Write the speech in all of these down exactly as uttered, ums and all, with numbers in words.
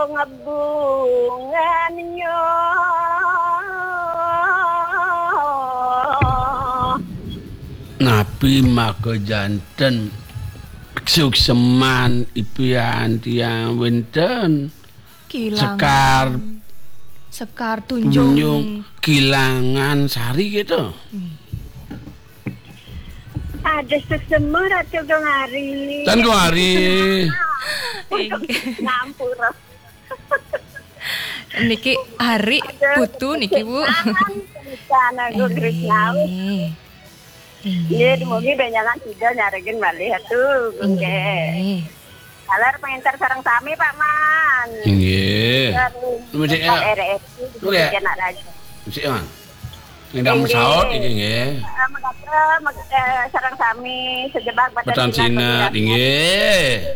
Ngebungan yo. Napi maka janten suksman ipian tiang wenten? Kilangan. Sekar. Sekar Tunjung. Tunjung. Kilangan Sari gitu. Hmm. Ada sesema Ratu Gong Ari. Tan Gong Ari. Ngampura. Niki Ari Putu niki, Bu. Aduh, Krisna, Agung Krisna. Nggih. Nggih, dumugi benjangan sida nyarengin malih atuh, nggih. Nggih. Taler panginter sareng sami, Pak Man. Nggih. Terus, Pak R S I, nggih. Anak raja. Sik, Man. Nggih, nggih. Saut niki nggih. Eh, mekaten, meg-, eh, sareng sami sejebak Batan Batan Sinak, Sinak, nggih.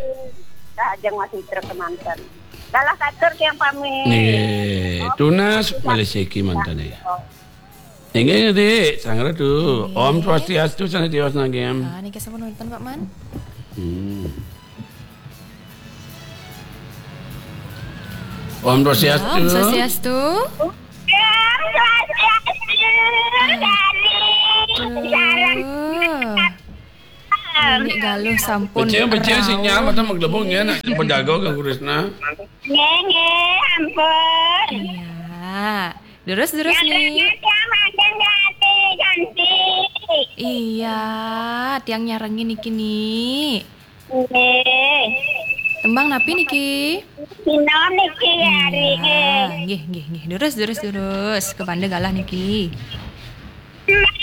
Rahajeng Mas Mitra kemanten. Galah katur tiang pamit. Nggih, tunas malih siki manten ya. Inggih, Dik, sang Ratu. Nggih. Om Swastiastu, sang Ratu Wasnagem. Ah, niki sampun wonten, Pak Man. Hmm. Om Swastiastu. Ya, Om Swastiastu. Om Swastiastu, Dani. Aduh. Sareng. Niki galuh sampun. Becik, becik, sinyal mata menggelembung ya, nak penjaga ke Krisna. Nggih, nggih, ampun. Iya. Terus, terus, Ni. Nyarengin tiang manten Jati, Janti. Iya, tiang nyarengin niki, Ni. Nggih. Tembang napi niki? Sinom niki, Ari, nggih. Iya, nggih, nggih, nggih. Terus, terus, terus. Kepanda galah niki. Mas